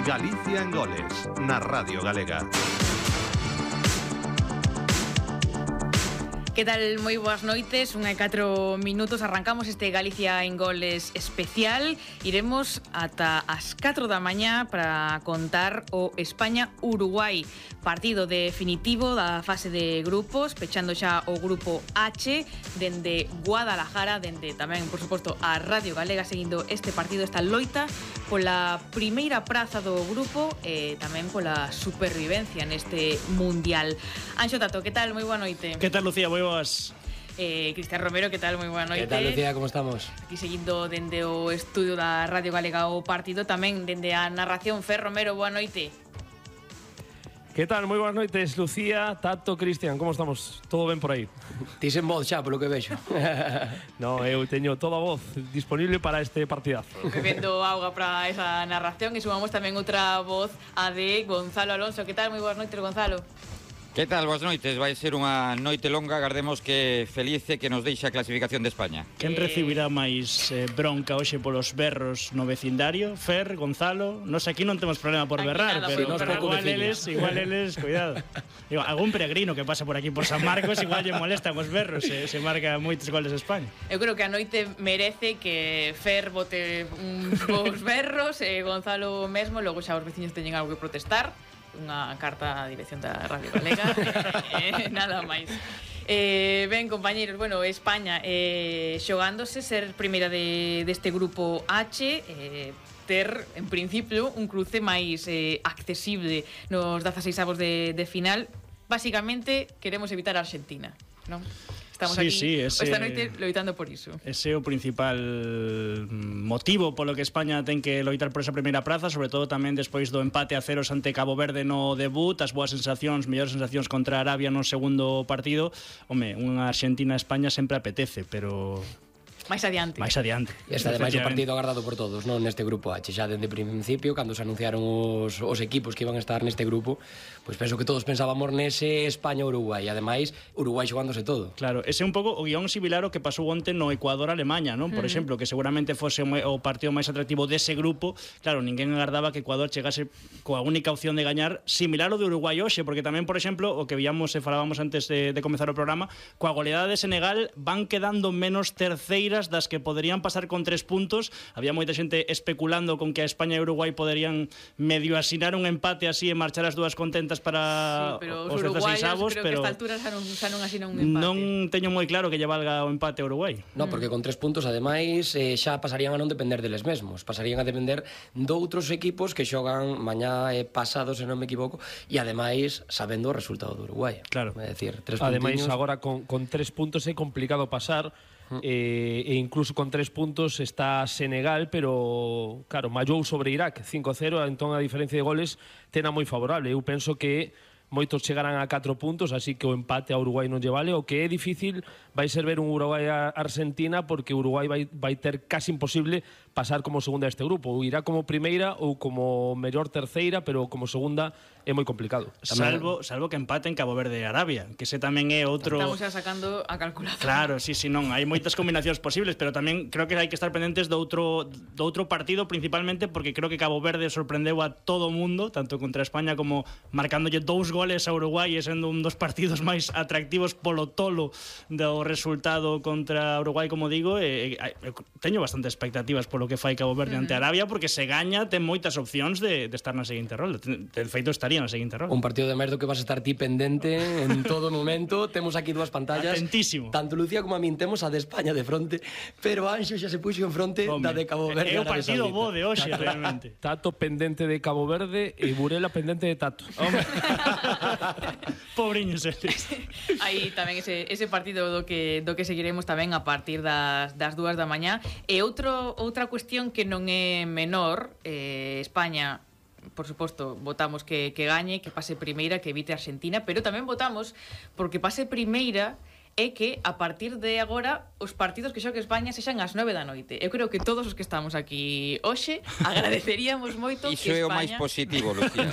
Galicia en Goles, na Radio Galega. Que tal? Moi boas noites, 1:04 minutos. Arrancamos este Galicia en Goles especial. Iremos ata as 4 da mañá para contar o España-Uruguai, partido definitivo da fase de grupos, pechando xa o grupo H, dende Guadalajara, dende tamén, por suposto, a Radio Galega, seguindo este partido, esta loita pola primeira praza do grupo e tamén pola supervivencia neste mundial. Anxo Tato, que tal? Moi boa noite. Que tal, Lucía? Moi boas. Cristian Romero, que tal? Moi boa noite. Que tal, Lucía? Como estamos? Aquí seguindo dende o estudio da Radio Galega o partido, tamén dende a narración. Fer Romero, boa noite. Que tal? Moi boas noites, Lucía, Tato, Cristian, como estamos? Todo ben por aí? Ti sen voz xa, polo que vexo. No, eu teño toda a voz disponible para este partidazo. Bebendo auga para esa narración e sumamos tamén outra voz, a de Gonzalo Alonso. Que tal? Moi boas noites, Gonzalo. Que tal? Boas noites. Vai ser unha noite longa. Agardemos que felice que nos deixe a clasificación de España. Quen recibirá máis bronca hoxe polos berros no vecindario? Fer, Gonzalo. Nos aquí non temos problema por Aquí berrar, nada, pero igual eles, cuidado. Digo, algún peregrino que pasa por aquí por San Marcos igual lle molestan os berros, se marca moitos goles a España. Eu creo que a noite merece que Fer bote uns berros e Gonzalo mesmo, logo xa os veciños teñen algo que protestar. Unha carta á dirección da Radio Galega. Nada máis. Ben, compañeros, bueno, España xogándose ser primeira deste grupo H, ter, en principio, un cruce máis accesible nos 16avos de final. Básicamente, queremos evitar a Argentina, non? Estamos aquí esta noite loitando por iso. Ese é o principal motivo polo que España ten que loitar por esa primeira praza, sobre todo tamén despois do empate a 0 ante Cabo Verde no debut, as boas sensacións, mellores sensacións contra Arabia no segundo partido. Home, unha Argentina-España sempre apetece, pero máis adiante. E está ademais o partido agardado por todos, non, neste grupo H. Xa dende principio, cando se anunciaron os equipos que iban a estar neste grupo, pois penso que todos pensábamos nese España-Uruguai. E ademais, Uruguai xogándose todo. Claro, ese é un pouco o guión similar ao que pasou onte no Ecuador-Alemanha, non? Por exemplo, que seguramente fose o partido máis atractivo dese grupo. Claro, ninguén agardaba que Ecuador chegase coa única opción de gañar, similar ao de Uruguai hoxe, porque tamén, por exemplo, o que víamos e falábamos antes de comezar o programa, coa goleada de Senegal van quedando menos terceiras das que poderían pasar con 3 puntos. Había moita xente especulando con que a España e Uruguai poderían medio asinar un empate así e marchar as dúas contentas para os 16avos, pero que a esta altura xa non asinan un empate. Non teño moi claro que lle valga o empate a Uruguai. No, porque con 3 puntos, ademais, xa pasarían a non depender deles mesmos. Pasarían a depender doutros equipos que xogan mañá e pasado, se non me equivoco, e ademais sabendo o resultado do Uruguai. Claro. É dicir, 3 ademais, puntiños. agora con 3 puntos é complicado pasar. E incluso con 3 puntos está Senegal, pero claro, mallou sobre Irak 5-0, entón a diferencia de goles tena moi favorable. Eu penso que moitos chegarán a 4 puntos, así que o empate a Uruguai non lle vale. O que é difícil vai ser ver un Uruguai-Argentina, porque Uruguai vai ter casi imposible pasar como segunda deste grupo. Ou irá como primeira ou como mellor terceira, pero como segunda é moi complicado. Salvo que empaten Cabo Verde e Arabia, que ese tamén é outro... Estamos xa sacando a calculadora. Claro, sí, non, hai moitas combinacións posibles, pero tamén creo que hai que estar pendentes do outro partido, principalmente porque creo que Cabo Verde sorprendeu a todo o mundo, tanto contra España como marcándolle 2 goles a Uruguai e sendo un dos partidos máis atractivos polo tolo do resultado contra Uruguai, como digo, teño bastante expectativas polo que fai Cabo Verde ante Arabia, porque se gaña ten moitas opcións de estar na seguinte rolda. De feito estaría na seguinte rolda. Un partido de merdo que vas a estar ti pendente en todo momento. Temos aquí 2 pantallas. Atentísimo. Tanto Lucía como a min temos a de España de fronte, pero Anxo xa se puxo en fronte da de Cabo Verde. É o partido bo de hoxe, realmente. Tato pendente de Cabo Verde e Burela pendente de Tato. Pobriños eles. Aí tamén ese partido do que seguiremos tamén a partir das 2 da mañá. E outra cuestión que non é menor, España, por suposto, votamos que gañe, que pase primeira, que evite a Argentina, pero tamén votamos porque pase primeira é que a partir de agora os partidos que xogue España sexan ás 9 da noite. Eu creo que todos os que estamos aquí hoxe agradeceríamos moito Iso que España... é o máis positivo, Lucía.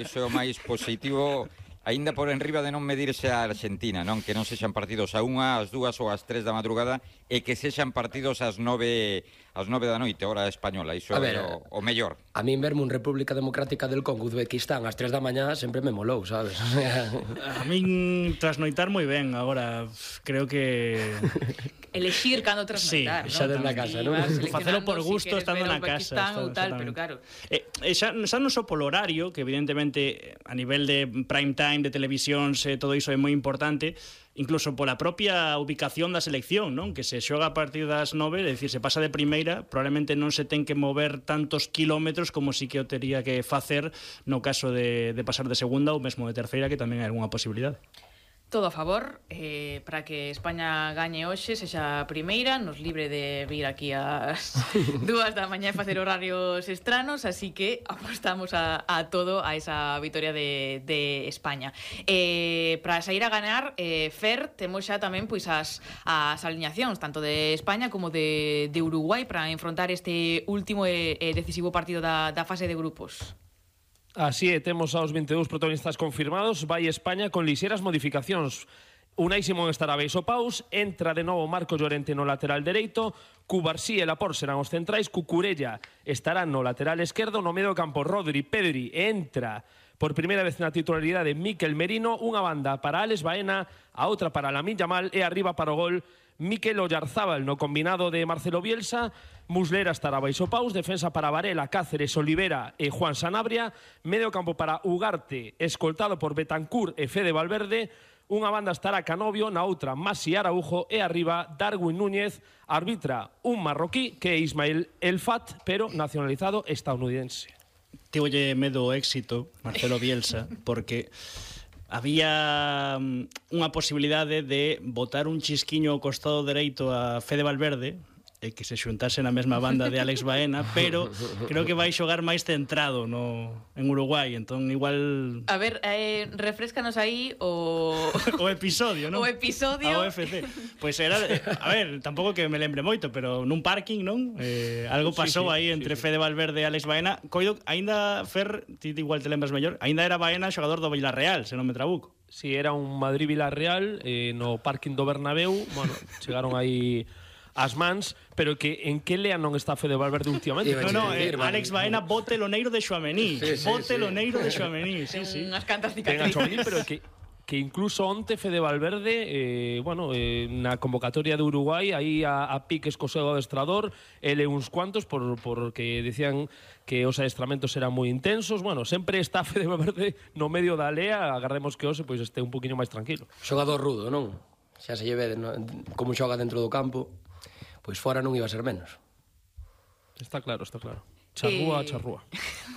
Iso é o máis positivo. aínda por enriba de non medirse a Argentina, non? Que non sexan partidos a 1, ás 2 ou ás 3 da madrugada e que sexan partidos ás 9 da noite, hora española. Iso é o mellor. A min verme un República Democrática del Congo, Uzbequistán, ás 3 da mañá sempre me molou, sabes? A min trasnoitar moi ben, agora creo que... Elexir cando trasnoitar, xa desde na casa, non? Facelo por gusto estando na casa. Tal, pero claro. Xa non só polo horario, que evidentemente a nivel de prime time, de televisións, todo iso é moi importante, incluso pola propia ubicación da selección, non? Que se xoga a partir das 9, é dicir, se pasa de primeira, probablemente non se ten que mover tantos kilómetros como si que o tería que facer no caso de pasar de segunda ou mesmo de terceira, que tamén hai algunha posibilidade. Todo a favor para que España gañe hoxe, sexa a primeira, nos libre de vir aquí ás 2 da mañá e facer horarios estranos, así que apostamos a todo a esa vitoria de España. Para sair a ganar, Fer, temos xa tamén pois as alineacións, tanto de España como de Uruguai, para enfrontar este último e decisivo partido da fase de grupos. Así é, temos aos 22 protagonistas confirmados. Vai España con lixeras modificacións. Unai Simón estará Beiso Paus, entra de novo Marco Llorente no lateral dereito, Cubarsí e Laporte serán os centrais, Cucurella estará no lateral esquerdo, no medio campo Rodri, Pedri, entra por primeira vez na titularidade Mikel Merino, unha banda para Alex Baena, a outra para Lamine Yamal e arriba para o gol Mikel Oyarzábal no combinado de Marcelo Bielsa. Muslera estará Beiso Paus, defensa para Varela, Cáceres, Olivera e Juan Sanabria, medio campo para Ugarte, escoltado por Betancur e Fede Valverde, unha banda estará Canovio, na outra Masi Araujo e arriba Darwin Núñez, arbitra un marroquí que é Ismael El Fat, pero nacionalizado estadounidense. Tíolle medo o éxito, Marcelo Bielsa, porque había unha posibilidade de botar un chisquiño ao costado dereito a Fede Valverde e que se xuntase na mesma banda de Alex Baena, pero creo que vai xogar máis centrado en Uruguai, entón igual... A ver, refrescanos aí o episodio, non? O episodio. A OFC. Pois era, a ver, tampouco que me lembre moito, pero nun parking, non? Algo pasou aí entre Fede Valverde e Alex Baena. Coido, aínda, Fer, ti igual te lembras mellor, aínda era Baena xogador do Villarreal, se non me trabuco. Si, era un Madrid-Villarreal no parking do Bernabéu, bueno, chegaron aí as mans, pero que en que lea non está Fede Valverde últimamente? Alex Baena bote loneiro de Xuamení. Bote loneiro de Xuamení, sí. Unhas cantas cicatrices. Pero que incluso onte Fede Valverde, na convocatoria de Uruguai, aí a piques co seu adestrador, ele uns cuantos, porque decían que os adestramentos eran moi intensos. Bueno, sempre está Fede Valverde no medio da lea, agardemos que hoxe pois este un poquinho máis tranquilo. Xogador rudo, non? Xa se lleve como xoga dentro do campo, pois fora non iba a ser menos. Está claro. Charrúa.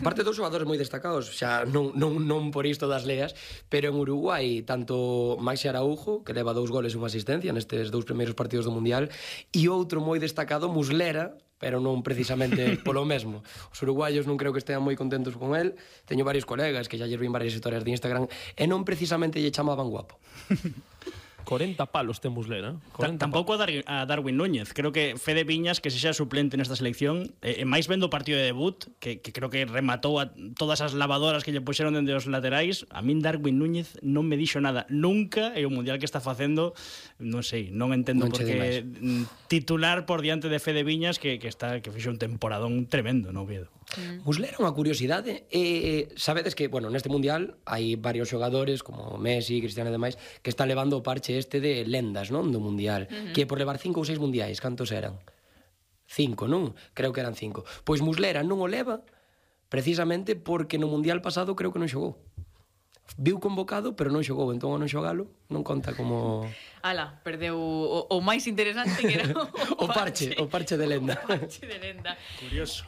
Aparte dos xogadores moi destacados, xa non por isto das leas, pero en Uruguai, tanto Maxi Araujo, que leva 2 goles e unha asistencia nestes 2 primeiros partidos do Mundial, e outro moi destacado, Muslera, pero non precisamente polo mesmo. Os uruguaios non creo que estean moi contentos con el. Teño varios colegas que xa lles vin varias historias de Instagram e non precisamente lle chamaban guapo. 40 palos ten Muslera. Tampouco a Darwin Núñez. Creo que Fede Viñas, que se xa suplente nesta selección, máis vendo o partido de debut, que creo que rematou a todas as lavadoras que lle puxeron dende os laterais, a min Darwin Núñez non me dixo nada nunca, e o mundial que está facendo, non sei, non entendo por que titular por diante de Fede Viñas, que fixo un temporadón tremendo no Oviedo. Muslera é unha curiosidade, sabedes que, bueno, neste mundial hai varios xogadores como Messi, Cristiano e demais que están levando o parche este de lendas, non, do mundial, que por levar 5 ou 6 mundiais, cantos eran? 5, non? Creo que eran 5. Pois Muslera non o leva precisamente porque no mundial pasado creo que non xogou. Viu convocado, pero non xogou, entón ao non xogalo non conta como... Ala, perdeu o máis interesante que era o parche de lenda. O parche de lenda. Curioso.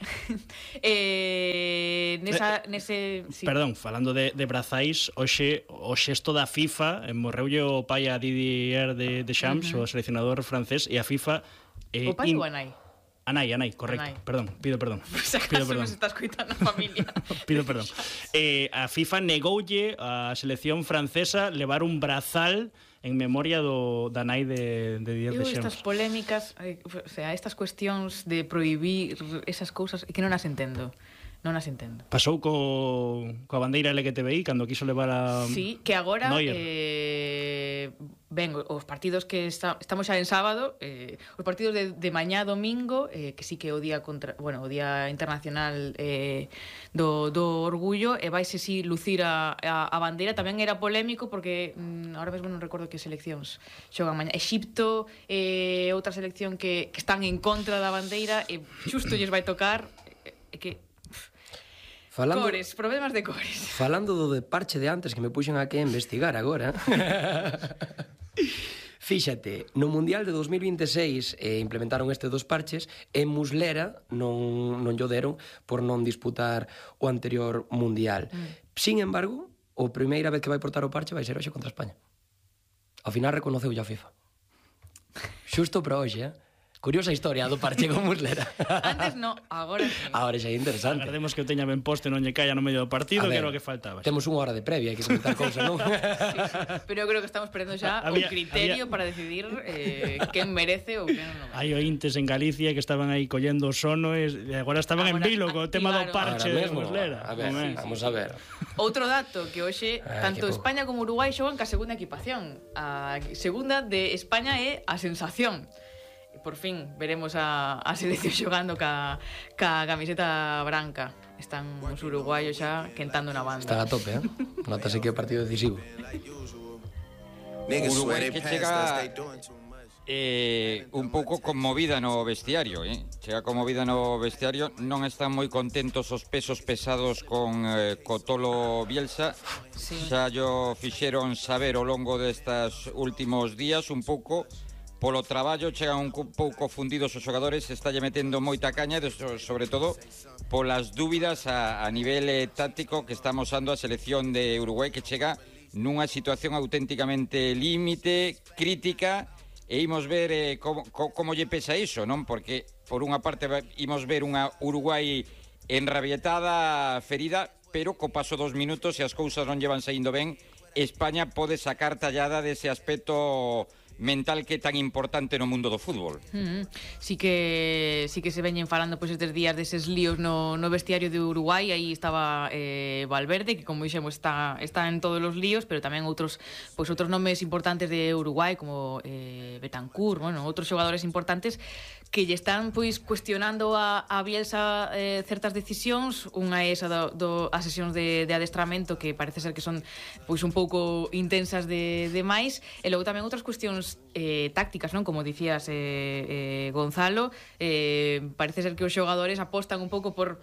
Sí. Perdón, falando de brazais, hoxe o xesto da FIFA, morreulle o pai a Didier Deschamps, o seleccionador francés, e a FIFA... O pai ou a nai? Anai, correcto. Anai. Perdón, pido perdón. Pues acaso nos está escoitando a familia. Pido perdón. A FIFA negoulle a selección francesa levar un brazal en memoria da nai de Didier Deschamps. Estas polémicas, o sea, estas cuestións de prohibir esas cousas que non as entendo. Non as entendo. Pasou coa bandeira LGTBI cando quiso levar a Sí, que agora ben, os partidos que estamos xa en sábado, os partidos de mañá domingo, que sí que é o día o día internacional do orgullo, e vaise si lucir a bandeira. Tamén era polémico porque ahora mesmo non recordo que seleccións xogan mañá. Exipto, outra selección que están en contra da bandeira, e xusto lles vai tocar que cores, problemas de cores. Falando do de parche de antes, que me puxen aquí a investigar agora. Fíxate, no Mundial de 2026 implementaron este dos parches e Muslera non llo deron por non disputar o anterior Mundial. Sin embargo, a primeira vez que vai portar o parche vai ser hoxe contra España. Ao final reconoceu a FIFA. Xusto para hoxe, Curiosa historia do parche con Muslera. Antes no, agora sí. Agora xa é interesante. Agardemos que o teña ben posto e non lle caia no medio do partido, que era o que faltaba. Temos unha hora de previa, hai que comentar cousas, non? Sí, pero eu creo que estamos perdendo xa o criterio para decidir quen merece ou quen non merece. Hai ointes en Galicia que estaban aí collendo o sono e agora estaban en vilo co tema do parche de Muslera. A ver, vamos a ver. Outro dato, que hoxe tanto España como Uruguai xogan ca segunda equipación. A segunda de España é a sensación. Por fin veremos a selección xogando ca camiseta branca. Están os uruguaios xa quentando na banda. Están a tope, Notase que é o partido decisivo. Uruguai que chega un pouco conmovida no vestiario, Chega conmovida no vestiario. Non están moi contentos os pesos pesados con Tolo Bielsa. Sí. Xa llo fixeron saber ao longo destas últimos días un pouco. Polo traballo chegan un pouco fundidos os xogadores, está lle metendo moita caña, sobre todo polas dúbidas a nivel táctico que está amosando a selección de Uruguai, que chega nunha situación auténticamente límite, crítica, e imos ver como lle pesa iso, non? Porque por unha parte imos ver unha Uruguai enrabietada, ferida, pero co paso dos minutos, se as cousas non llevan saindo ben, España pode sacar tallada dese aspecto mental que é tan importante no mundo do fútbol. Sí que se veñen falando estes días deses líos no vestiario de Uruguai. Aí estaba Valverde, que como dixemos está en todos os líos, pero tamén outros nomes importantes de Uruguai, como Betancur, outros xogadores importantes que lle están cuestionando a Bielsa certas decisións. Unha é esa as sesións de adestramento, que parece ser que son un pouco intensas de máis, e logo tamén outras cuestións tácticas, non? Como dicías, Gonzalo, parece ser que os xogadores apostan un pouco por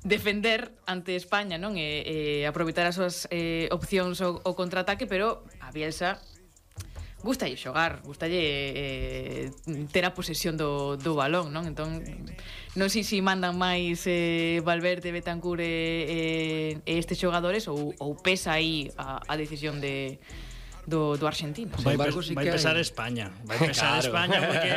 defender ante España, non? Aproveitar as súas opcións ao contraataque, pero a Bielsa gustalle xogar, gustalle ter a posesión do balón, non? Entón, non sei se mandan máis Valverde, Betancur e estes xogadores ou pesa aí a decisión do argentino. Vai pesar España. Vai pesar España porque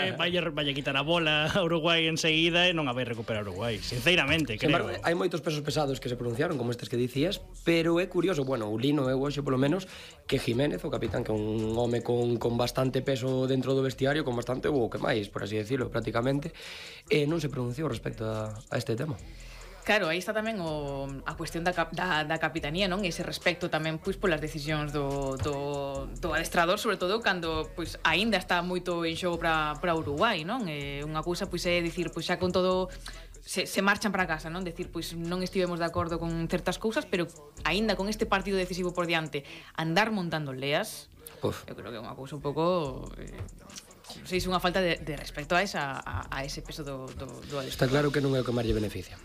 vai quitar a bola a Uruguai enseguida e non a vai recuperar Uruguai, sinceramente, creo. Hai moitos pesos pesados que se pronunciaron, como estes que dicías, pero é curioso, o Lino é hoxe polo menos, que Jiménez, o capitán, que é un home con bastante peso dentro do vestiario, con bastante que máis, por así decirlo, prácticamente, non se pronunciou respecto a este tema. Claro, aí está tamén a cuestión da capitanía, non? Ese respecto tamén polas decisións do adestrador, sobre todo cando aínda está moito en xogo para Uruguai, non? Unha cousa é dicir, xa con todo se marchan para casa, non? Decir, non estivemos de acordo con certas cousas, pero aínda con este partido decisivo por diante, andar montando leas, eu creo que é unha cousa un pouco é unha falta de respecto a ese peso do adestrador. Está claro que non é o que máis lle beneficia.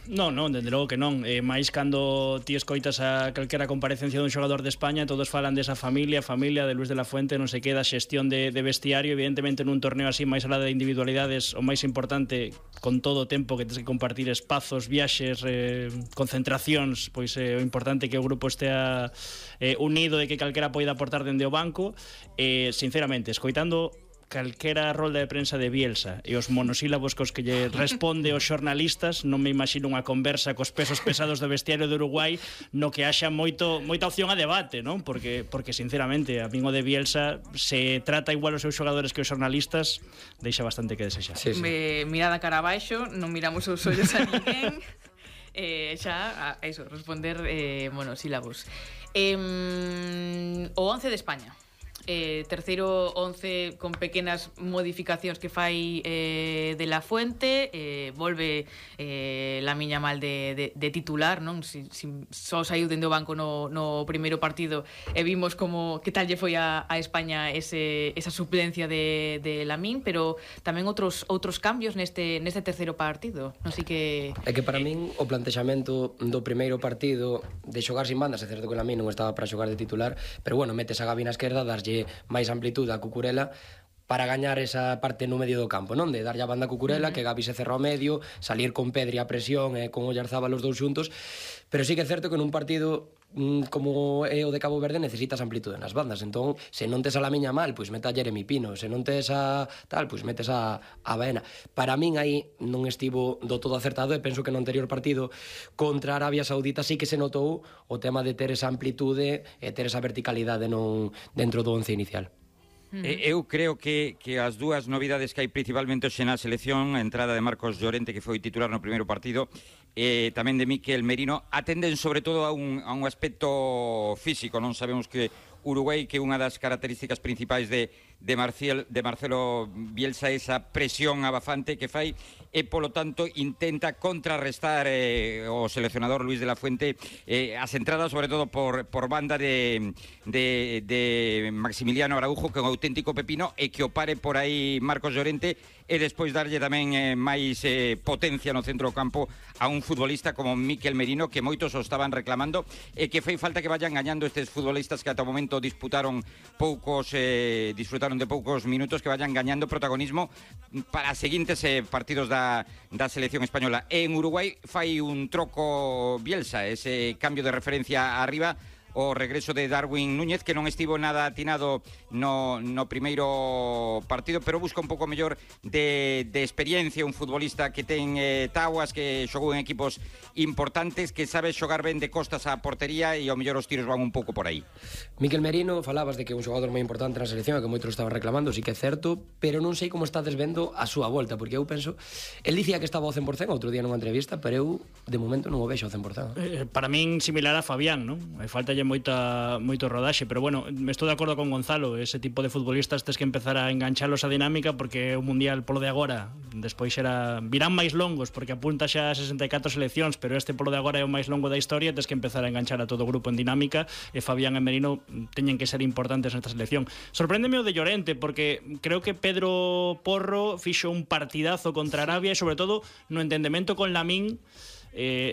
Non, dende logo que non. Mais cando ti escoitas a calquera comparecencia dun xogador de España, todos falan desa familia de Luis de la Fuente, non sei que, da xestión de vestiario. Evidentemente nun torneo así, máis alá de individualidades, o máis importante, con todo o tempo que tens que compartir espazos, viaxes, concentracións, o importante que o grupo estea unido e que calquera poida aportar dende o banco. Sinceramente, escoitando calquera rolda de prensa de Bielsa e os monosílabos cos que lle responde aos xornalistas, non me imagino unha conversa cos pesos pesados do vestiario de Uruguai no que haxa moita opción a debate, non? Porque sinceramente, a min o de Bielsa, se trata igual os seus xogadores que os xornalistas, deixa bastante que desexar. Sí. Mirada cara abaixo, non miramos os ollos a ninguén. xa, a eso, responder monosílabos. O 11 de España. Terceiro 11 con pequenas modificacións que fai de la Fuente, volve Lamine Yamal de titular, non? Só saiu dende o banco no primeiro partido e vimos como que tal lle foi a España esa suplencia de Lamine, pero tamén outros cambios neste terceiro partido. Non sei que... É que para min o plantexamento do primeiro partido de xogar sin bandas, é certo que Lamine non estaba para xogar de titular, pero bueno, metes a Gavi na esquerda, darlle máis amplitude a Cucurella para gañar esa parte no medio do campo, non? De darlle a banda a Cucurella, que Gavi se cerra ao medio, salir con Pedri a presión e con Oyarzabal os dous xuntos, pero sí que é certo que nun partido como é o de Cabo Verde necesitas amplitude nas bandas, entón se non tes a Lamine Yamal, pois mete a Jeremy Pino, se non tes a tal, pois metes a Baena. Para min aí non estivo do todo acertado e penso que no anterior partido contra Arabia Saudita sí que se notou o tema de ter esa amplitude e ter esa verticalidade dentro do once inicial. Eu creo que as dúas novidades que hai principalmente hoxe na selección, a entrada de Marcos Llorente, que foi titular no primeiro partido, e tamén de Mikel Merino, atenden sobre todo a un aspecto físico. Non sabemos que Uruguai, que unha das características principais de Marcelo Bielsa, esa presión abafante que fai, e polo tanto intenta contrarrestar o seleccionador Luis de la Fuente as entradas, sobre todo por banda de Maximiliano Araujo, que é un auténtico pepino, e que o pare por aí Marcos Llorente, e despois darlle tamén máis potencia no centro do campo a un futbolista como Mikel Merino, que moitos o estaban reclamando, e que fai falta que vayan gañando estes futbolistas que ata o momento disfrutaron de poucos minutos, que vayan gañando protagonismo para os seguintes partidos da selección española. E en Uruguai fai un troco Bielsa, ese cambio de referencia arriba, o regreso de Darwin Núñez, que non estivo nada atinado no primeiro partido, pero busca un pouco mellor de experiencia, un futbolista que ten taguas, que xogou en equipos importantes, que sabe xogar ben de costas á portería, e ao mellor os tiros van un pouco por aí. Mikel Merino, falabas de que é un xogador moi importante na selección, que moitos estaban reclamando, sí que é certo, pero non sei como estades vendo a súa volta, porque eu penso, el dicía que estaba ao 100% outro día nunha entrevista, pero eu de momento non o vexo ao 100%. Para min similar a Fabián, non? Falta moito rodaxe, pero bueno, estou de acordo con Gonzalo, ese tipo de futbolistas tes que empezar a enganchalos a dinámica, porque o mundial polo de agora despois virán máis longos, porque apunta xa a 64 seleccións, pero este polo de agora é o máis longo da historia, tes que empezar a enganchar a todo o grupo en dinámica, e Fabián e Merino teñen que ser importantes nesta selección. Sorpréndeme o de Llorente, porque creo que Pedro Porro fixo un partidazo contra Arabia, e sobre todo no entendemento con Lamine,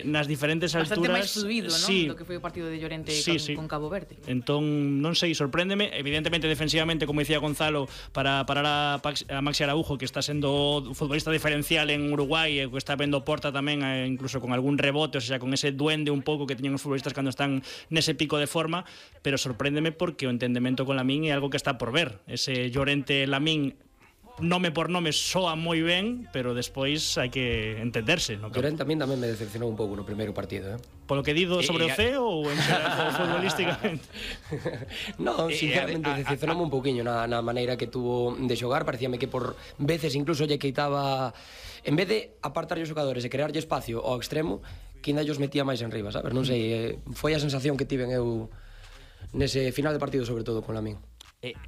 nas diferentes alturas. Bastante máis fluido, non? Sí. Do que foi o partido de Llorente con Cabo Verde. Entón, non sei, sorpréndeme. Evidentemente, defensivamente, como dicía Gonzalo, para parar a Maxi Araujo, que está sendo futbolista diferencial en Uruguai, e que está vendo porta tamén, incluso con algún rebote, o sea, con ese duende un pouco que teñen os futbolistas cando están nese pico de forma, pero sorpréndeme porque o entendemento con Lamine é algo que está por ver. Ese Llorente-Lamine, nome por nome, soa moi ben, pero despois hai que entenderse, no? Llorente tamén me decepcionou un pouco no primeiro partido, Polo que dido sobre o C ou en xeral futbolísticamente? No, sinceramente decepcionoume un pouquiño na maneira que tuvo de xogar. Parecíame que por veces incluso lle quitaba, en vez de apartar os xogadores e crearlle espacio ao extremo, que ainda os metía máis en riba, sabes? Non sei, foi a sensación que tiven eu nese final de partido, sobre todo con Lamine.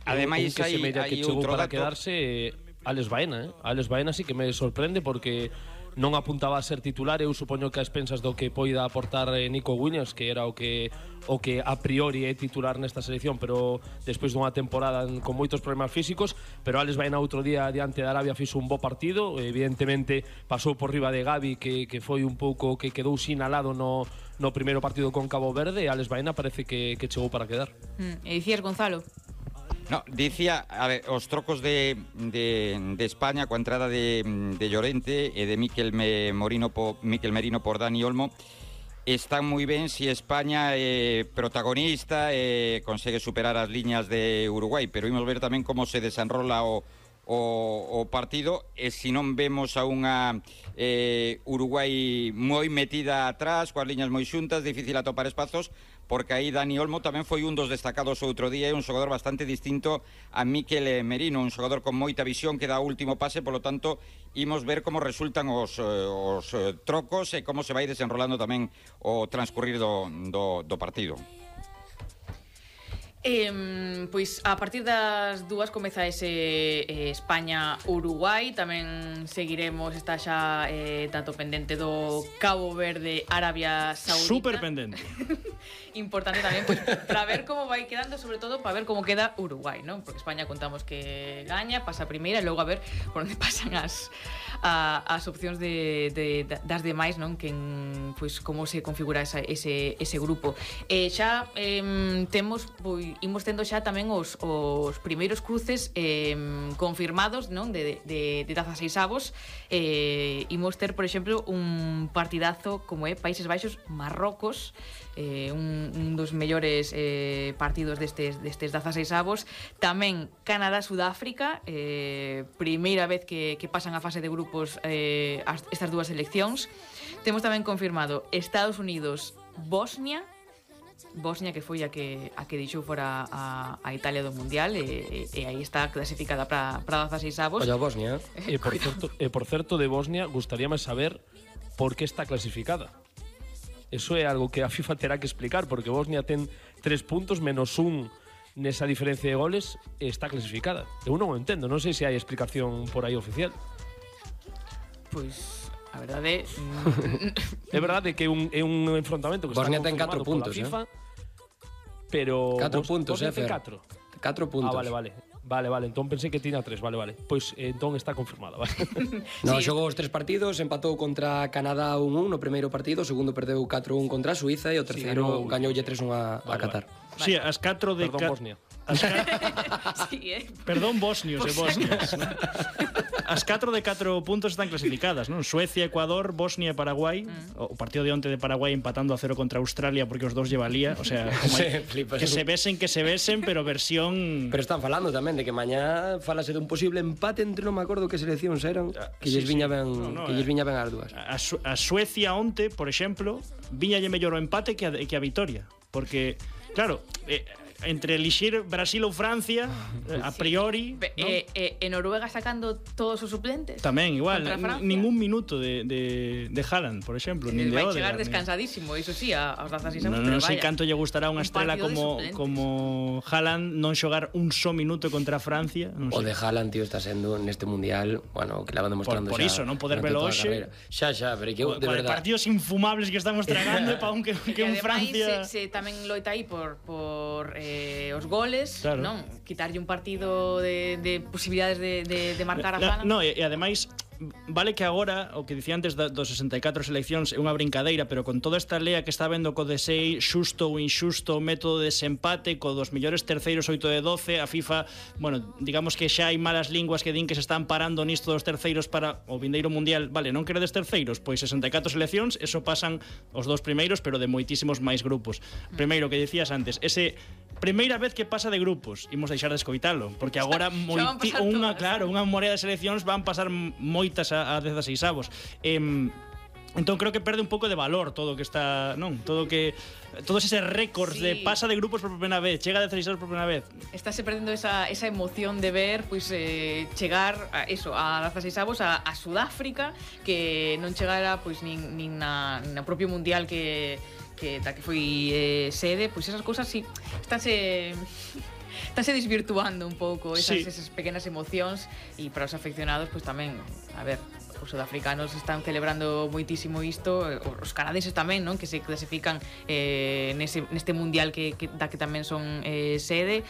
Ademais, que hai chegou outro para dato. quedarse Alex Baena, Alex Baena sí que me sorprende, porque non apuntaba a ser titular. Eu supoño que a expensas do que poida aportar Nico Williams, que era o que a priori é titular nesta selección, pero despois dunha temporada con moitos problemas físicos. Pero Alex Baena outro día diante de Arabia fixo un bo partido, evidentemente pasou por riba de Gavi, que foi un pouco que quedou sinalado no primeiro partido con Cabo Verde, e Alex Baena parece que chegou para quedar. E dicías, Gonzalo? No, dicía, a ver, os trocos de España coa entrada de Llorente e de Mikel Merino por Dani Olmo están moi ben se España é protagonista e consegue superar as liñas de Uruguai, pero imos ver tamén como se desenrola o o partido, e se non vemos a unha Uruguai moi metida atrás, coas liñas moi xuntas, difícil atopar espazos, porque aí Dani Olmo tamén foi un dos destacados outro día, e un xogador bastante distinto a Mikel Merino, un xogador con moita visión que dá o último pase, polo tanto imos ver como resultan os trocos e como se vai desenrolando tamén o transcurrir do partido. Pois a partir das 2 comeza ese España-Uruguai. Tamén seguiremos, está xa tanto pendente do Cabo Verde, Arabia Saudita. Super pendente. Importante tamén, pois, para ver como vai quedando, sobre todo para ver como queda Uruguai, non? Porque España contamos que gaña, pasa a primeira, e logo a ver por onde pasan as opcións das demais, non? Pois como se configura ese grupo. Xa temos, pois, imos tendo xa tamén os primeiros cruces confirmados, non? De 16avos. Imos ter, por exemplo, un partidazo como é Países Baixos Marrocos, un dos mellores partidos destes 16avos. Tamén Canadá-Sudáfrica, primeira vez que pasan a fase de grupos estas dúas seleccións. Temos tamén confirmado Estados Unidos-Bosnia, que foi a que deixou fora a Italia do Mundial, e aí está clasificada para 16avos. Oye, Bosnia. Por certo, de Bosnia, gustaríame saber por que está clasificada. Eso é algo que a FIFA terá que explicar, porque Bosnia ten 3 puntos menos 1 nesa diferencia de goles e está clasificada. Eu non o entendo, non sei se hai explicación por aí oficial. Pois a verdade é verdade que é un enfrontamento que Bosnia está ten 4 confirmado puntos, pola FIFA, pero 4 puntos, Bosnia ten Fer. 4. 4 puntos. Vale, entón pensei que tiña 3, vale. Pois entón está confirmada, vale. No, Sí. xogou os 3 partidos, empatou contra Canadá 1-1 no primeiro partido, o segundo perdeu 4-1 contra a Suiza e o terceiro gañoulle 3-1 a Qatar. Sí, as 4 de... Perdón, Bosnia. sí, Perdón, bosnios e bosnias. As 4 de 4 puntos están clasificadas, non? Suecia, Ecuador, Bosnia e Paraguai. O partido de onte de Paraguai empatando a 0 contra Australia porque os dous lle valía, o sea, Sí, flipas. que se besen, pero versión... Pero están falando tamén de que mañá falase dun posible empate entre, non me acordo que seleccións eran, que lles viña ben, que lles viña ben as dúas. A Suecia onte, por exemplo, viñalle mellor o empate que a vitória, porque claro, entre elixir Brasil ou Francia, a priori, ¿no? En Noruega sacando todos os suplentes Tamén igual, contra Francia. ningún minuto de Haaland, por exemplo, nin de vai Odegaard. chegar descansadísimo, iso sí, aos 16avos, Non sei canto lle gustará unha un estrela partido de suplentes. como Haaland non xogar un só minuto contra Francia, non O sei. de Haaland, tío, está sendo neste mundial, bueno, que la van demostrando Por iso, non poder velo hoxe. Xa, pero que eu, de Con verdade. partidos infumables que estamos tragando e pa un que un Ademais, Francia... se tamén loita aí por os goles, Claro. non? Quitarlle un partido de posibilidades de marcar a Haaland. No, e ademais vale que agora, o que dicía antes dos 64 seleccións é unha brincadeira, pero con toda esta lea que está vendo co de 6 xusto ou inxusto o método de desempate, co dos millores terceiros 8 de 12, a FIFA, bueno, digamos que xa hai malas linguas que din que se están parando nisto dos terceiros para o vindeiro mundial. Vale, non queredes terceiros? Pois 64 seleccións, eso pasan os dos primeiros, pero de moitísimos máis grupos. Primeiro, que dicías antes, ese primeira vez que pasa de grupos, imos deixar de escoitalo, porque agora unha morea de seleccións van pasar moitas a 16avos. Entón creo que perde un pouco de valor todo o que está, non? Todos eses récords de pasa de grupos por primeira vez, chega de 16avos por primeira vez. Estáse perdendo esa emoción de ver pois chegar a 16avos a Sudáfrica, que non chegara pois nin na propio mundial que foi sede, pois esas cousas sí estánse desvirtuando un pouco esas pequenas emocións, e para os afeccionados pois tamén, a ver, os sudafricanos están celebrando moitísimo isto, os canadenses tamén, non? Que se clasifican neste mundial que tamén son sede.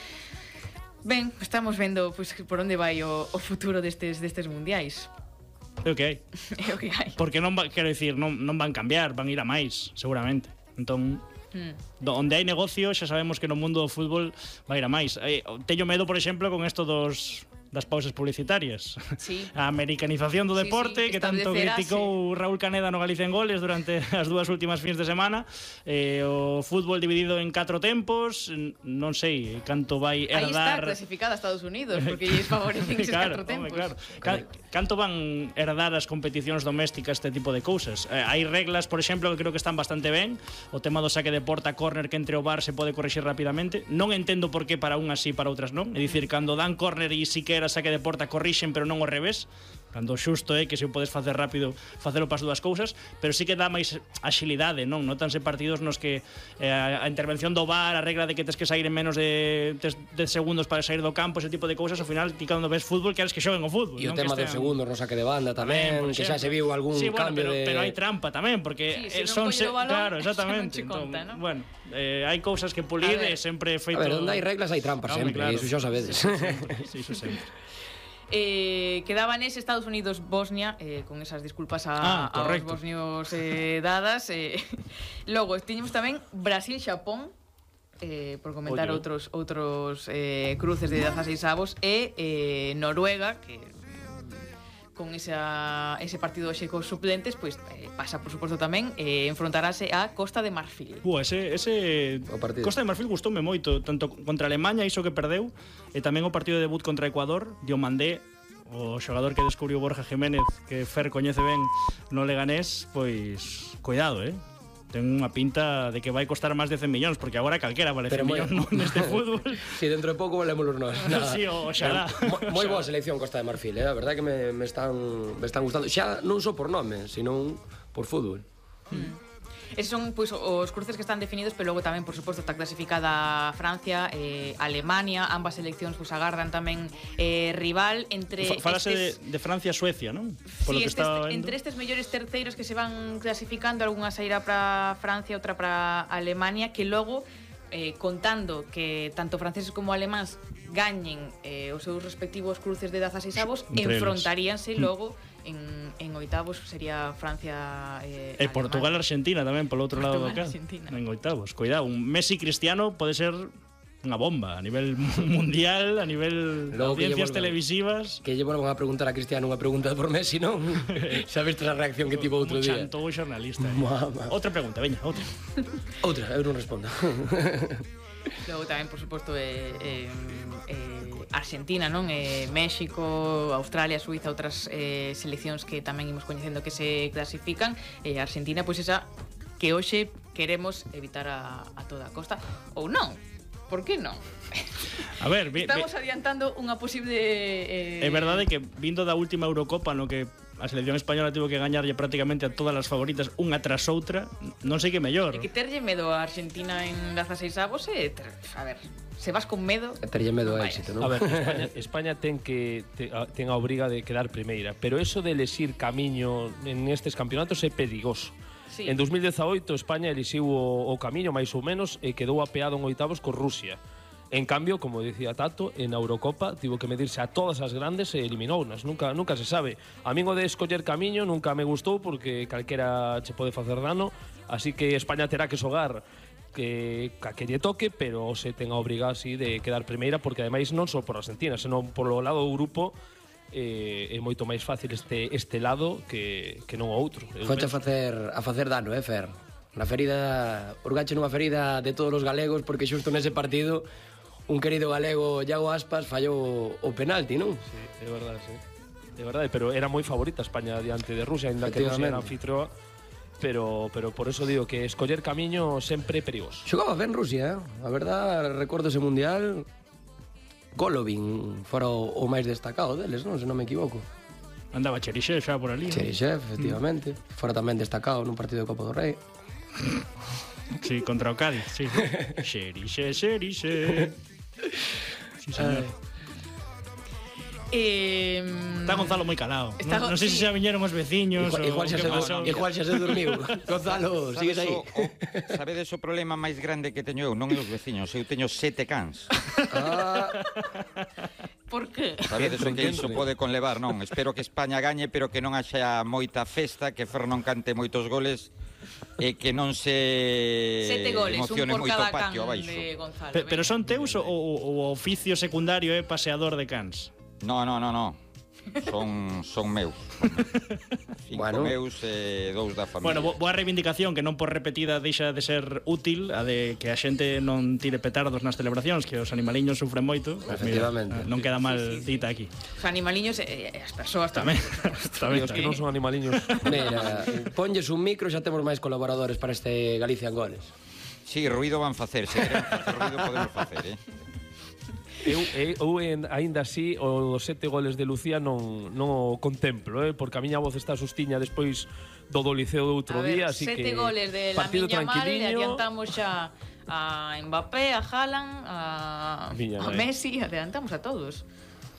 Ben, estamos vendo pois por onde vai o futuro destes mundiais. É o que hai. É o que hai. Porque quero dicir, non van cambiar, van ir a máis, seguramente. Entón, onde hai negocio, xa sabemos que no mundo do fútbol vai ir a máis. Teño medo, por exemplo, con isto dos das pausas publicitarias. Sí. A americanización do deporte, que tanto criticou Raúl Caneda no Galicia en Goles durante as dúas últimas fins de semana. O fútbol dividido en 4 tempos, non sei canto vai herdar... Aí está clasificada Estados Unidos, porque lles favorecen eses 4 tempos. Claro. Canto van herdar as competicións domésticas este tipo de cousas? Hai reglas, por exemplo, que creo que están bastante ben. O tema do saque de porta, córner, que entre o VAR se pode corrixir rapidamente. Non entendo por que para unhas sí, para outras non. É dicir, cando dan córner e siquera saque de porta corrixen, pero non ao revés. Cando xusto é que se o podes facer rápido, facelo para as dúas cousas, pero sí que dá máis axilidade, non? Notanse partidos nos que a intervención do VAR, a regla de que tes que sair en menos de 10 segundos para sair do campo, ese tipo de cousas, ao final ti cando ves fútbol queres que xoguen o fútbol. E o tema dos segundos no saque de banda tamén, que xa se viu algún cambio de... Pero hai trampa tamén, porque son... Claro, exactamente. Bueno, hai cousas que pulir e sempre feito... A ver, onde hai reglas hai trampas sempre, iso xa sabedes. Sí, iso sempre. Quedaba nese Estados Unidos-Bosnia, con esas disculpas aos bosnios dadas. Logo, tiñemos tamén Brasil-Xapón, por comentar outros cruces de 16 avos, e Noruega, que con ese partido hoxe cos suplentes, pois pasa, por suposto, tamén enfrontarase a Costa de Marfil. Ese Costa de Marfil gustoume moito, tanto contra Alemanha, iso que perdeu, e tamén o partido de debut contra Ecuador, Diomandé, o xogador que descubriu Borja Jiménez, que Fer coñece ben no Leganés, pois cuidado, ten unha pinta de que vai costar máis de 100 millóns, porque agora calquera vale 100 millóns neste fútbol. Si, dentro de pouco valémolos nós. Sí, oxalá. Moi boa selección Costa de Marfil, a verdade que me están gustando. Xa non só por nome, sino por fútbol. Esos son pois, os cruces que están definidos, pero logo tamén, por suposto, está clasificada Francia, Alemania, ambas seleccións pois, agardan tamén rival entre... Falase de Francia e Suecia, non? Sí, entre estes mellores terceiros que se van clasificando, algunha sairá para Francia, outra para Alemania, que logo, contando que tanto franceses como alemáns gañen os seus respectivos cruces de 16 avos, enfrontaríanse logo en oitavos, sería Francia e Portugal, Argentina tamén polo outro lado do cá, en oitavos. Cuidado, un Messi Cristiano pode ser unha bomba a nivel mundial, a nivel de audiencias televisivas. Que lle volvan a preguntar a Cristiano unha pregunta por Messi, non? Sabes a reacción que tivo outro día? Chantou o xornalista. Outra pregunta, veña, outra. Outra, eu non respondo. Logo tamén, por suposto, Argentina, non? México, Australia, Suiza, outras seleccións que tamén imos coñecendo que se clasifican. Argentina, pois esa que hoxe queremos evitar a toda costa. Ou non? Por que non? A ver, estamos adiantando unha posible... É verdade que vindo da última Eurocopa no que a selección española tivo que gañarlle prácticamente a todas as favoritas unha tras outra, non sei que mellor. E que terlle medo a Argentina en 16 avos a ver, se vas con medo... Terlle medo a éxito, non? A ver, España ten a obriga de quedar primeira, pero eso de elegir camiño en estes campeonatos é perigoso. Sí. En 2018 España elixiu o camiño máis ou menos e quedou apeado en oitavos con Rusia. En cambio, como dicía Tato, en Eurocopa tivo que medirse a todas as grandes e eliminounas. Nunca se sabe. A min o de escoller camiño nunca me gustou porque calquera che pode facer dano, así que España terá que xogar que lle toque, pero se ten a obriga así de quedar primeira, porque ademais non só por Argentina, senón por o lado do grupo é moito máis fácil este lado que non o outro. Foche a facer dano, Fer? Na ferida, urgache nunha ferida de todos os galegos, porque xusto nese partido un querido galego, Iago Aspas, fallou o penalti, non? Sí, é verdade, sí. É verdade, pero era moi favorita España diante de Rusia, ainda que Rusia era anfitrioa, pero por eso digo que escoller camiño sempre é perigoso. Xogaba ben Rusia, a verdade, recordo ese mundial. Golovin fora o máis destacado deles, non? Se non me equivoco. Andaba Cherichev xa por ali. Cherichev, efectivamente. Fora tamén destacado nun partido de Copa do Rei. Sí, contra o Cádiz, sí. Cherichev. Sí, señor. Está Gonzalo moi calado. Non sei se xa viñeron os veciños igual xa se dormiu. Gonzalo, sigues aí. Sabedes o problema máis grande que teño eu? Non é os veciños, eu teño 7 cans. Por que? Sabedes o que iso pode conlevar, non? Espero que España gañe, pero que non haxa moita festa, que Fer non cante moitos goles e que non se emocione moito o patio abaixo. Pero son teus ou o oficio secundario é paseador de cans? No. Son meus. 5 Bueno. meus e 2 da familia. Bueno, boa reivindicación que non por repetida deixa de ser útil a de que a xente non tire petardos nas celebracións, que os animaliños sufren moito. Pues Efectivamente. mira, non queda mal dita aquí. Os animaliños e as persoas Tamén. tamén. E os que non son animaliños. Mira, ponlles un micro, xa temos máis colaboradores para este Galicia en Goles. Sí, ruido van facer. Se queremos facer ruido podemos facer, Eu aínda así os 7 goles de Lucía non o contemplo, porque a miña voz está sustiña despois do Liceo do outro día, así que 7 goles de partido Lamine Yamal, e tranquiliño. adiantamos xa a Mbappé, a Haaland, a Messi, adiantamos a todos.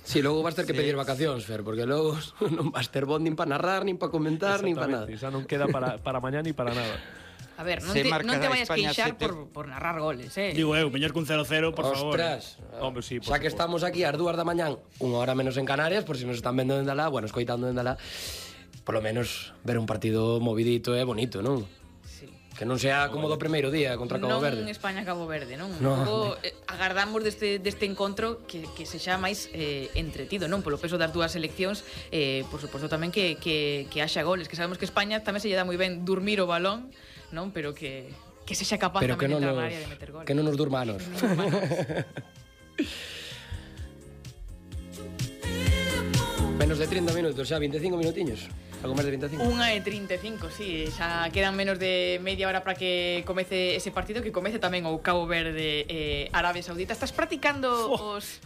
Si, logo vas ter que pedir vacacións, Fer, porque logo non vas ter bon nin para narrar, nin para comentar, nin para nada. Xa non queda para mañá ni para nada. A ver, non Se te marcará vayas España queixar 7. por narrar goles, Digo mellor que un 0-0, por favor. Ostras, Hombre, sí, por xa que suposto. estamos aquí ás 2 da mañán, unha hora menos en Canarias, por si nos están vendo dende alá, bueno, escoitando dende alá, por lo menos ver un partido movidito e bonito, non? Sí. Que non sea como do primeiro día contra Cabo Non Verde. España-Cabo Verde, non? No. Logo, agardamos deste encontro que sexa máis entretido, non? Polo peso das dúas seleccións, por suposto tamén que haxa goles, que sabemos que España tamén se lle dá moi ben dormir o balón, non? Pero que sexa capaz Pero que tamén de non entrar nos, na área de meter goles. que non nos durmanos. Menos de 30 minutos, xa 25 minutiños. Algo máis de 25. 1:35, sí, xa quedan menos de media hora para que comece ese partido, que comece tamén o Cabo Verde Arabia Saudita. Estás practicando os...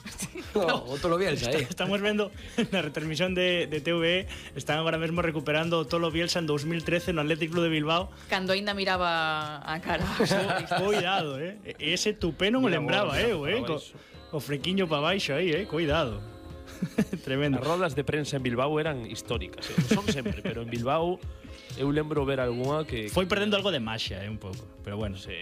O Tolo Bielsa, Estamos vendo na retransmisión de TVE, están agora mesmo recuperando o Tolo Bielsa en 2013 no Athletic Club de Bilbao. Cando ainda miraba a cara. Cuidado, ese tupé non o Mira, lembraba, mira, o frequiño para baixo aí, cuidado. Tremendo. As rodas de prensa en Bilbao eran históricas, son sempre, pero en Bilbao eu lembro ver algunha que Foi perdendo algo de maxia, un pouco, pero bueno. Sí.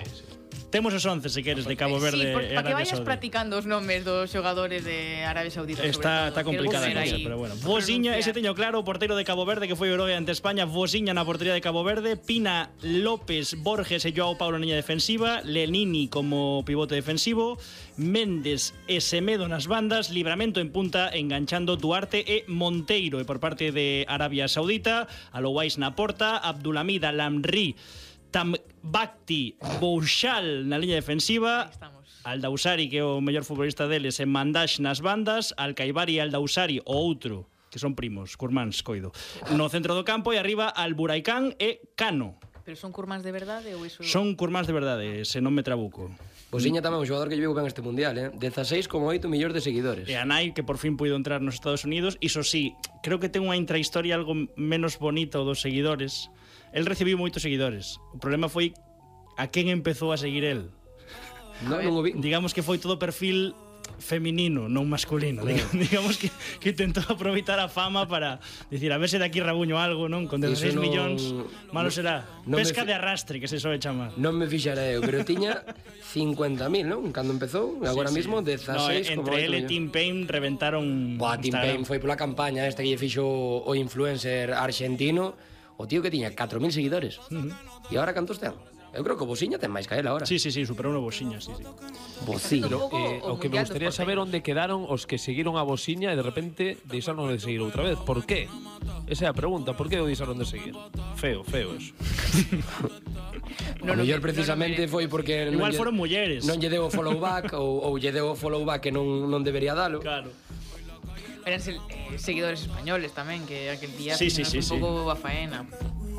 Temos os 11, se queres, de Cabo Verde Sí, e para que Arabia vayas Saudita. practicando os nomes dos xogadores de Arabia Saudita. Está complicada a Quero ver cosa, aí pero bueno. Vosiña, ese pronunciar. teño claro, o porteiro de Cabo Verde que foi o heroe ante España. Vosiña na portería de Cabo Verde, Pina, López, Borges e Joao Paulo na liña defensiva, Lenini como pivote defensivo, Méndez e Semedo nas bandas, Livramento en punta, enganchando Duarte e Monteiro. E por parte de Arabia Saudita, Alouais na porta, Abdulhamid Al-Amri, Tambakti, Bouchal na liña defensiva, Aí estamos. Aldausari, que é o mellor futbolista deles, en Mandash nas bandas, Alcaibari e Aldausari, o outro, que son primos, curmáns, coido, no centro do campo, e arriba Alburaicán e Cano. Pero son curmáns de verdade ou iso? Son curmáns de verdade, se non me trabuco. Bosiña tamén un xogador que llevou ben este mundial, 16,8 millóns de seguidores. E a nai, que por fin puido entrar nos Estados Unidos, iso sí, creo que ten unha intrahistoria algo menos bonita dos seguidores. El recibiu moitos seguidores. O problema foi a quen empezou a seguir el. Non o vi. Digamos que foi todo perfil feminino, non masculino. Digamos que intentou aproveitar a fama para dicir, a ver se de aquí rabuño algo, non? Con 16 Iso non- millóns, malo será. non me Pesca fi- de arrastre, que se soe chamar. Non me fixarei, pero tiña 50.000, non? Cando empezou, agora mismo 16,8 entre ele e millóns. Tim Payne reventaron Buah, Tim Instagram. Payne foi pola campaña esta que lle fixo o influencer argentino, o tío que tiña 4.000 seguidores. E agora cantos ten? Eu creo que o Bosiña ten máis que él agora. Sí, superou no Bosiña, sí. Bosiña. Pero, o que me gustaría saber onde quedaron os que seguiron a Bosiña e de repente deixaron de seguir outra vez. Por qué? Esa é a pregunta, por que o deixaron de seguir? Feo eso. O mellor precisamente foi porque Igual foron mulleres. Non lle deu o follow back ou lle deu o follow back que non debería dalo. Claro. Eran seguidores españoles tamén, que aquel día Sí, un pouco a faena.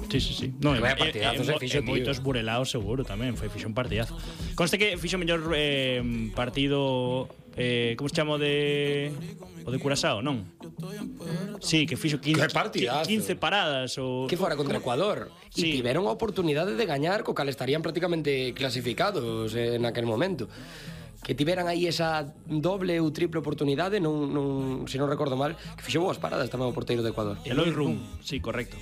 Sí. No, Vaya partidazos, fixo, tío. moitos burelaos seguro tamén, fixo un partidazo. Conste que fixo o mellor partido como se chama o de Curazao, non? Sí, que fixo 15 Que partidazo. 15 paradas ou Que fora contra Ecuador. Sí. E tiveron a oportunidade de gañar, co cal estarían prácticamente clasificados en aquel momento. Que tiveran aí esa doble ou triple oportunidade, se non recordo mal, que fixo boas paradas tamén o porteiro de Ecuador. Eloy Rum, sí, correcto.